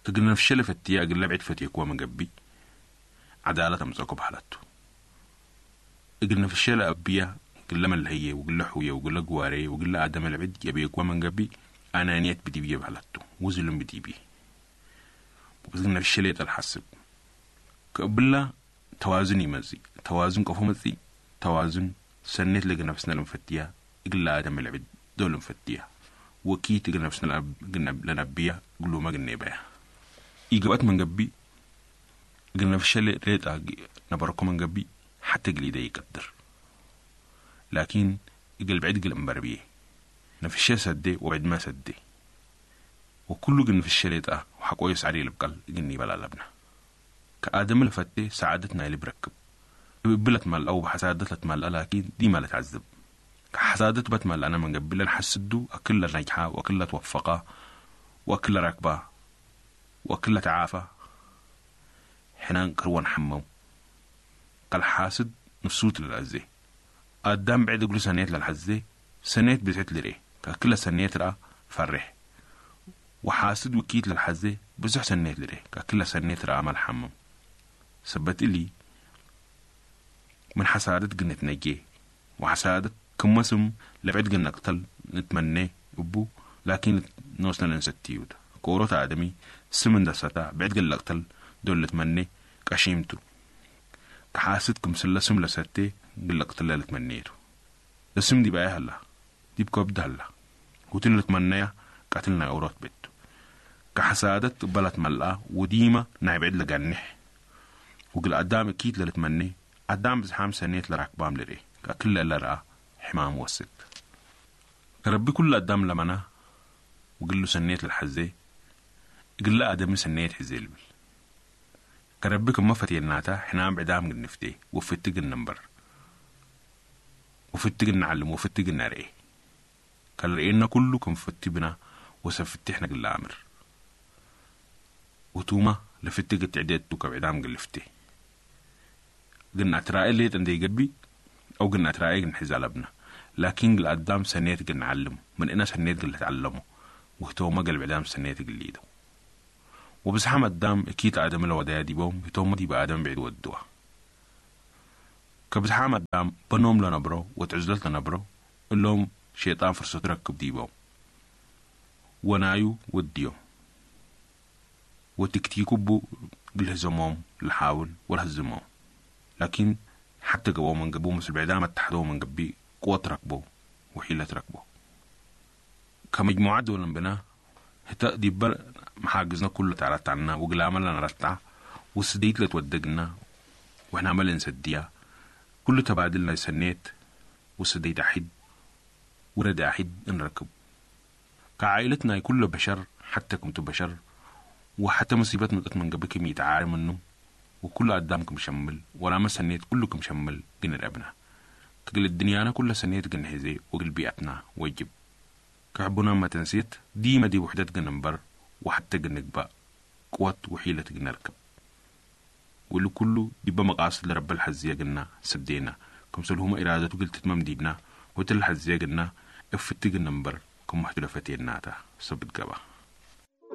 እግል ነፍሸለ ፈትያ እግለ ብዕድ ፈትየክዋ መገቢ፣ ዓዳለት ኣምጸእኮ በሃለቱ። እግል ነፍሸለ ኣብያ፣ እግለ መልሀየ፣ ወግለ ሑየ፣ ወግለ ግዋሬ፣ ወግለ ኣደመ ለብዕድ የብየክዋ መንገቢ፣ ኣናንየት ብዲብየ በሃለቱ። ወዝሉም ብዲብየ። ወብዝግ ነፍሸለ የጠል ሓስብ። ከእብላ ተዋዝን ይመጽእ። ተዋዝን ቀፎ መጽእ። ተዋዝን ሰኔት ለግነፍስነ ለንፈትያ፣ እግለ ኣደመ ለብዕድ ዶ ለንፈትያ። ወኪት እግል ነፍስነ ለነብያ፣ ግሉመ ግኔበያ። ኢገበት መንገቢ፣ እግል ነፍሸለ ሌጣ ነበረኮ መንገቢ፣ ሓተ ግሊደ ይቀድር። ላኪን እግል ብዕድ ግል እምበር ብዬ። ነፍሸ ሰዴ ወብዕድመ ሰዴ። ወኩሉ ግን ነፍሸ ሌጣ ወሓቆዮ ሳዕሪ ልብቀል ግን ይበል ኣለብና። ከኣደም ለፈቴ ሰዓደት ናይ ልብ ረክብ። እብ እብለት መልአ ወብሓሳደት ለትመልአ ላኪን ዲማ ለትዓዝብ። ከሓሳደት በትመልአነ መንገቢ ለንሓስዱ ኣክል ለነጅሓ ወኣክል ለትወፈቃ ወኣክል ለረክባ ወኣክል ለተዓፋ ሕናን ቅርወን ሓመም። ከልሓስድ ንሱት ለልአዜ። ኣዳም ብዕድ እግሉ ሰኔት ለልሐዜ፣ ሰኔት ብዝሕት ልርኤ፣ ከክለ ሰኔት ረኣ ፈሬሕ። ወሓስድ ውኪት ለልሐዜ፣ ብዙሕ ሰኔት ልርኤ፣ ከክለ ሰኔት ረኣ መልሓምም። ሰበት እሊ፣ ምን ሓሳደት ግነት ነጌ፣ ወሓሳደት ክመ ስም ለብዕድ ግነ ቅተል ንትመኔ እቡ፣ ላኪን ኖስነ ለንሰትዩት። ከኦሮት ኣደሚ፣ ስም እንደሰታ፣ ብዕድ ግለ ቅተል ዶል ልትመኔ ቀሺምቱ። ከሓስድ ክምስለ ስም ለሰቴ፣ ግለ ቅትለ ልትመኔቱ። ለስም ዲብ ኣየ ሀላ፣ ዲብ ከብድ ሀላ። ሁትን ልትመነያ፣ ቀትል ናይ ኦሮት ቤቱ። ከሓሳደት እበላት መልኣ፣ ወዲማ ናይ ብዕድ ለጋኒሕ። ወግል ኣዳም እኪት ለልትመኔ፣ ኣዳም ብዝሓም ሰኔት ለራክባም ልርኤ፣ ከክለ ለረኣ ሕማም ወስድ። ከረቢ ኩሉ ኣዳም ለመና፣ ወግሉ ሰኔት ለልሐዜ፣ እግለ ኣደሚ ሰኔት ሕዜ ልብል። ከረቢ ክመ ፈትየናታ፣ ሕናም ብዕዳም ግንፍቴ፣ ወፍቲ ግንንበር። ወፍቲ ግንዓልም፣ ወፍቲ ግነርኤ። ከልርኤና ኩሉ ክም ፍቲ ብና፣ ወሰብ ፍቲ ሕነ ግለ ኣምር። ወቱማ ለፍቲ ግትዕደቱ ከብዕዳም ግልፍቴ። ግን ኣትራኤ ሌጥ እንደይገቢ፣ ኣው ግን ኣትራኤ ግን ሕዝ ኣለብና። ላኪን ግል ኣዳም ሰኔት ግን ዓልም፣ ምን እነ ሰኔት ግን ልትዓለሞ፣ ወህተውመ ገልብዕዳም ሰኔት ግን ሊደው። ወብዝሓም ኣዳም እኪት ኣደም ለወዳያ ዲቦም፣ ህተውመ ዲብ ኣደም ብዕድ ወድዋ። ከብዝሓም ኣዳም በኖም ለነብሮ፣ ወትዕዝለት ለነብሮ፣ እሎም ሼጣን ፍርሰቱ ረክብ ዲቦም። ወናዩ ወድዮም። ወትክቲኩቡ ግልህዘሞም ልሓውል ወልህዝሞም። ላኪን ሓተ ገብኦ መንገቡ ምስል ብዕዳም ኣታሕደው መንገቢ ቅወት ረክቦ ወሒለት ረክቦ። ከመጅሙዓት ዶልን ብና ህተ ዲበ መሓግዝነ ኩሉ ታራታና ወግላመ ለነረታ ወስደይት ለትወደግና ወሕናመ ለንሰድያ ኩሉ ተባድል ናይ ሰኔት ወስደይት ኣሒድ ወረድ ኣሒድ እንረክብ። ከዓይለት ናይ ኩሉ በሸር ሓተ ክምቱ በሸር ወሓተ ሙሲበት ምጠት መንገቢ ክም ይተዓረ ምኑ ወኩሉ ኣዳም ክም ሸምል ወራመ ሰኔት ኩሉ ክም ሸምል ግን ረብና። ክግል ድንያና ኩለ ሰኔት ግን ሕዜ ወግል ቢኣትና ወጅብ። ከሕቡና መተንሴት ዲመ ዲብ ውሕደት ግን እምበር ወሓተ ግን ንግባእ ቅወት ውሒለት ግን ነርክብ። ወሉ ኩሉ ዲበ መቃስድ ለረበ ለሐዝየ ግና ሰብዴና፣ ክምሰልሁመ ኢራደቱ ግል ትትመም ዲብና፣ ወእት ለሐዝየ ግና እፍቲ ግን እምበር ክም መሕቱ ለፈቴናታ ሰብት ገባ።